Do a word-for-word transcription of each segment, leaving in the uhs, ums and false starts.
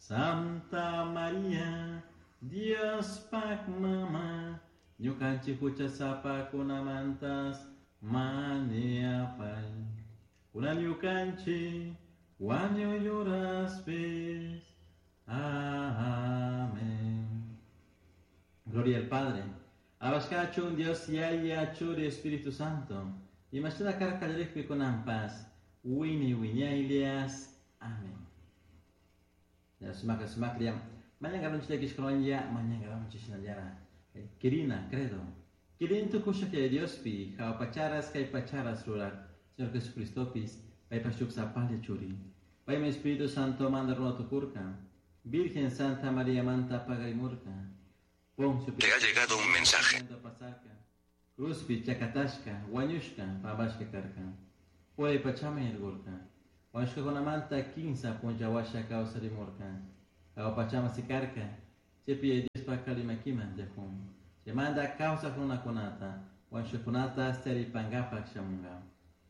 Santa Maria, Diospaj mama, ñukanchik huchasapakunamantas mañapai. Kunan ñukanchik wañuy uraspis. Amén. Gloria al Padre. Abashkachun Dios Yaya Churi Espíritu Santo. Imashina karka kallarikpi kunanpas. Wini wiñaylias. Amén. Ya sumak sumaklia. Mañangaronchi llakishkawanlla, mañangaronchi shinallara. Quirina, credo. Quirin tukusha que Diospi, jaupacharas kay pacharas rurak, Señor Jesucristopis, paypa shuk sapalla churi. Paymi Espíritu Santo manda runa tukurka. Virgen Santa María manta pagarimurka. Poncio Te ha llegado un mensaje. Pasarka. Cruzpi chakatashka, wañushka, pambashka karka. Uray pachaman yarkurka. Wañushkakunamanta kinsa punlla kawsarimurka. Jahua pachaman sikarka. Chaypi Diospa kalimakiman tiyakun. Chaymanta kawsaq runakunata, wañushkakunata taripankapak shamunka.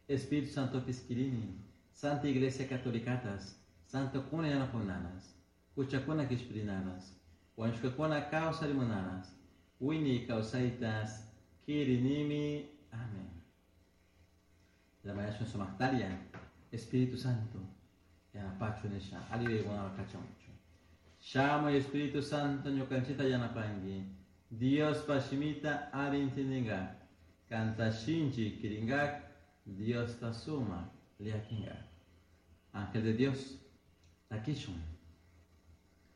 Espíritu Santo piskirini, Santa Iglesia Catolicatas, Santo kuna yanapunanas, huchakuna kishpirinanas, wañushkakuna kawsarimunanas, wiñay kawsaytas, kirinimi. Amén. La mañana sumaqtaria, Espíritu Santo, yanapachu nisha, aliyuykuna kachamuchu. Shamuy Espíritu Santo ñukanchita yanapanki, Diospa shimita alli intindingak, kanta shinchi kiringak, Diosta suma llakinkak. Ángel de Dios, takishun.